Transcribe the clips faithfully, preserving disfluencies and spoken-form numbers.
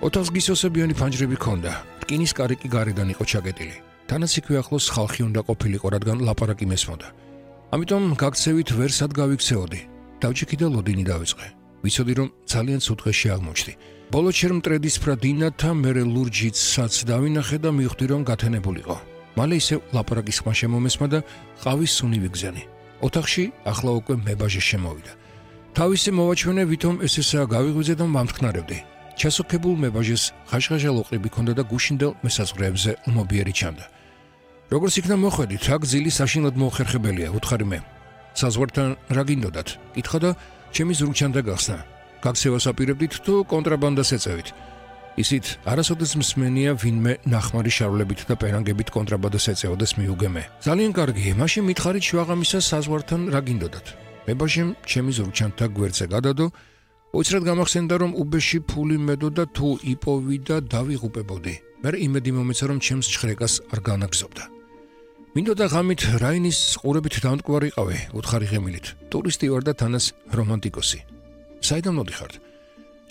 ოთახს გისოსებიანი ფანჯრები ჰქონდა, რკინის კარი კი გარედან იყო ჩაკეტილი. თანაც იქვე ახლოს ხალხი უნდა ყოფილიყო, რადგან ლაპარაკი მესმოდა. ამიტომ გაქცევით ვერ სად გავიქცეოდი. დავჭიქი და ლოდინი დავიწყე. ვიცოდი, რომ ძალიან ცუდღეში აღმოჩნდი. ბოლო ჩერ მტრედისფრა დინათა მერე ლურჯიცსაც დავინახე და მივხვდი, რომ გათენებულიყო. მალე ისევ ლაპარაკის ხმა შემომესმა და ყავის სუნი ვიგზენი. ოთახში ახლა უკვე მებაჟე შემოვიდა. თავისი მოვაჩვენე, ვითომ ეს-ესაა გავიღვიძე და მომთქნარებდი. ჩასოქებულ მებაჟეს ხაშხაშა ლოყრები ჰქონდა და გუშინდელ მესაზღვრეებზე ლმობიერი ჩანდა. როგორც იქნა მოხვედით, რა გზილი საშინლად მოუხერხებელია, უთხარი მე. საზღვართან რა გინდოდათ? კითხა და ჩემი ზრუჩანდა გახსნა. გაქცევას აპირებდით თუ კონტრაბანდას ეწევით? ისიც არასოდეს მსმენია ვინმე ნახმარი შარვლებით და პერანგებით კონტრაბანდას ეწეოდეს მიუგე მე. ძალიან კარგი, მაშინ მითხარით შუაღამისა საზღვართან რა გინდოდათ? მებაჟემ ჩემი ზრუჩანთა გვერდზე გადადო, უცრად გამახსენდა, რომ უბეში ფული მედოდა თუ იპოვი და დავიღუპებოდი. მერე იმედი მომეცა, რომ ჩემს ჩხრეკას არ განაგზობდა. მინდოდა ღამით რაინის ყურებით დამტკვარიყავი, უთხარი ღემილით. ტურისტი ვარ და თანას რომანტიკოსი. საიდან მოდიხართ?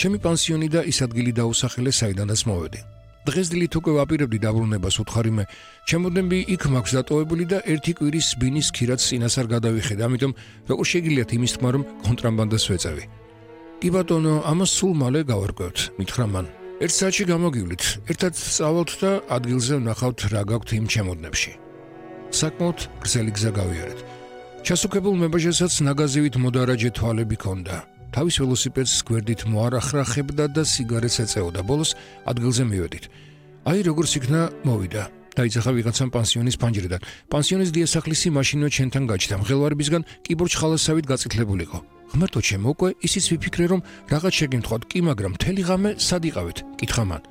ჩემი პანსიონი და ის ადგილი დაუსახელე, საიდანაც მოვედი. დღესდილით უკვე ვაპირებდი დაბრუნებას, უთხარი მე. ჩემოდნები იქ მაქვს დატოვებული და ერთი კვირის ბინის ქირაც წინას არ გადავიხედა, ამიტომ როგორ შეგიძლიათ იმის თქმა, რომ კონტრაბანდას ვეწევი? კი ბატონო, ამას სულ მალე გავარკვევთ, მითხრა მან. ერთ საათში გამოგივლით, ერთად წავალთ და ადგილზე ვნახავთ რა გაქვთ იმ ჩემოდნებში. საკმაოდ გრძელი გზა გავიარეთ. ჩასუქებულ მებაჟესაც ნაგაზივით მოდარაჯე თვალები ჰქონდა. თავის ველოსიპედს გვერდით მოარახრახებდა და სიგარეტს ეწეოდა. ბოლოს ადგილზე მივედით. აი როგორც იქნა მოვიდა. დაიძახა ვიღაცამ პანსიონის ფანჯრიდან. პანსიონის დიასახლისი მაშინვე ჩვენთან გაჩნდა. მღელვარებისგან კიბორჩ ხალასავით გაწითლებულიყო. ღმერთო ჩემო, უკვე ისიც ვიფიქრე, რომ რაღაც შეგემთხვათ, კი მაგრამ მთელი ღამე სად იყავით? კითხა მან.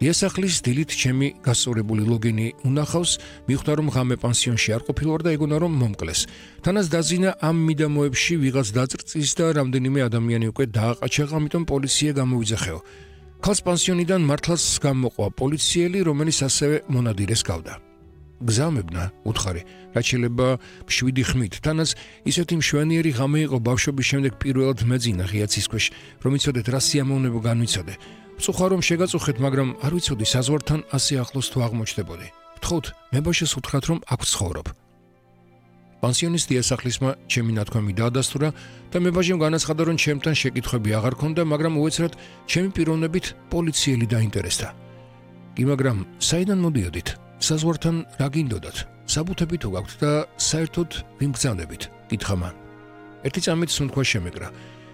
დიასახლის დილით ჩემი გასწორებული ლოგინი უნახავს, მიხვდა, რომ ღამე პანსიონში არ ყოფილვარ და ეგონა, რომ მომკლეს. თანაც დაზინა ამ მიდამოებში ვიღაც დაწრწის და რამდენიმე ადამიანი უკვე დააყაჩაღა, ამიტომ პოლიცია გამოვიძახეო. ქალს პანსიონიდან მართლაც გამოყვა პოლიციელი, რომელიც ასევე მონადირეს გავდა. გზამებნა, უთხარი, რაც შეიძლება მშვიდი ხმით. თანაც ისეთი მშვენიერი ღამე იყო ბავშვობის შემდეგ პირველად მეძინა ღიაცის ქვეშ, რომ იცოდეთ რა სიამოვნებო განვიცოდე. ვწუხარ რომ შეგაწუხეთ, მაგრამ არ ვიცოდი საზღვართან ასე ახლოს თუ აღმოჩნდებოდი. ვთხოვთ, მებაჟეს უთხრათ, რომ აქ ვცხოვრობ. პანსიონის დიასახლისმა ჩემი ნათქვამი დაადასტურა და მებაჟემ განაცხადა, რომ ჩემთან შეკითხვები აღარ ქონდა, მაგრამ უეცრად ჩემი პიროვნებით პოლიციელი დაინტერესდა. კი, მაგრამ საიდან მოდიოდით? საზღვართან რა გინდოდათ? საბუთები თუ გაქვთ და საერთოდ ვინ გძანდებით? კითხა მან. ერთი წამით სუნთქვა შემეკრა.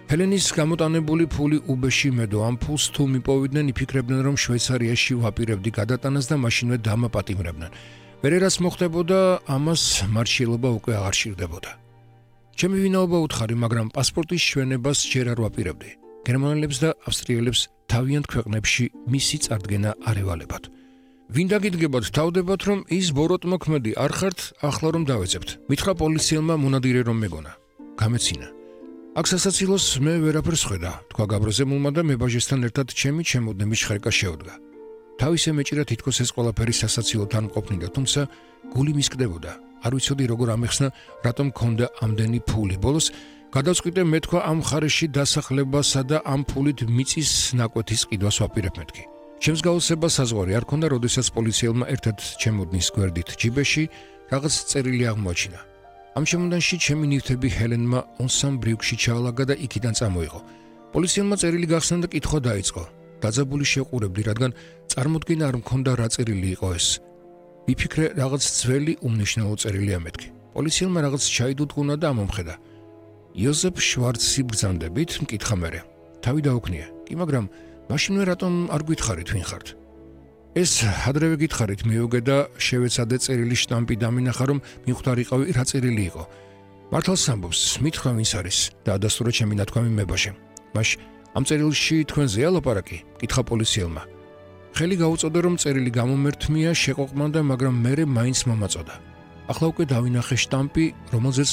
ჰელენის გამოტანებული ფული უბეში მედო, ამ ფულს თუ მიპოვიდნენ, იფიქრებდნენ, რომ შვეიცარიაში ვაპირებდი გადატანას და მაშინვე დამაპატიმრებდნენ. მერე რაც მოხდებოდა, ამას მარშილობა უკვე აღარ სჭირდებოდა. ჩემი ვინაობა უთხარი, მაგრამ პასპორტის ჩვენებას ჯერ არ ვაპირებდი. გერმანელებს და ავსტრიელებს თავიანთ ქვეყნებში მისი წარდგენა არ ევალებათ. ვინ დაგიდგებათ, თავდებათ, რომ ის ბოროტმოქმედი არ ხართ, ახლა რომ დავეძებთ. მითხრა პოლიციელმა მონადირე რომ მეგონა. გამეცინა. აქ სასაცილოს მე ვერაფერს ხვედა, თქვა გაბრაზებულმა და მებაჟესთან ერთად ჩემი ჩემოდნების ხრეკა შეუდგა. თავისე მეჭირა თითქოს ეს ყველაფერი სასაცილოთან მყოფნიდა, თუმცა გული მისკდებოდა. არ ვიცოდი როგორ ამეხსნა, რატომ მქონდა ამდენი ფული. ბოლოს გადავწყვიტე მეთქვა ამ მხარეში დასახლებასა და ამ ფულით მიწის ნაკვეთის ყიდვას ვაპირებ მეთქი. ჩემს გაოცება საზღვარი არ ქონდა, როდესაც პოლიციელმა ერთად ჩემოდნის გვერდით ჯიბეში რაღაც წერილი აღმოაჩინა. ამ შემოდანში ჩემი ნივთები ჰელენმა ონსამ ბრიუქში ჩაალაგა და იქიდან წამოიღო. პოლიციელმა წერილი გახსნა და კითხვა დაიწყო. დაძაბული შეყურებდი, რადგან წარმოდგენა არ მქონდა რა წერილი იყო ეს. ვიფიქრე, რაღაც ძველი უმნიშვნელო წერილია მეთქი. პოლიციელმა რაღაც ჩაიდუდღუნა და ამომხედა. იოზეფ შვარცი ბრძანდებით, მკითხა მერე. თავი დაუქნია. კი, მაგრამ მაშინვე რატომ არ გითხარით ვინ ხართ? ეს ადრევე გითხარით, მიუგე და შევეცადე წერილი შტამპი დამინახა, რომ მიხვდარიყავი რა წერილი იყო. მართალს ამბობს, მითხრა ვინც არის და ადასტურა ჩემი ნათქვამი მებაჟემ. მაშ ამ წერილში თქვენზეა ლაპარაკი? კითხა პოლიციელმა. ხელი გაუწოდა, რომ წერილი გამომერთმია, შეყოყმანდა, მაგრამ მერე მაინც მომაწოდა. ახლა უკვე დავინახე შტამპი, რომელზეც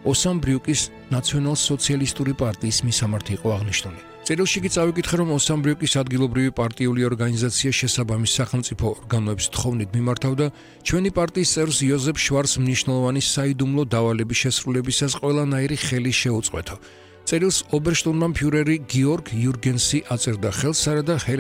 ოსამ ბრიუკის ნაციონალ-სოციალისტური პარტიის მისამართი იყო აღნიშნული. წერილში კი წავიკითხე, რომ ოსამ ბრიუკის ადგილობრივი პარტიული ორგანიზაცია შესაბამის სახელმწიფო ორგანოებს თხოვნით მიმართავდა ჩვენი პარტიის წევრს იოზეფ შვარცს მნიშვნელოვანი საიდუმლო დავალების შესრულებისას ყველანაირი ხელი შეუწყვეთო. წერილს ობერშტურმანფიურერი გიორგ იურგენსი აწერდა ხელს, არადა ჰელენა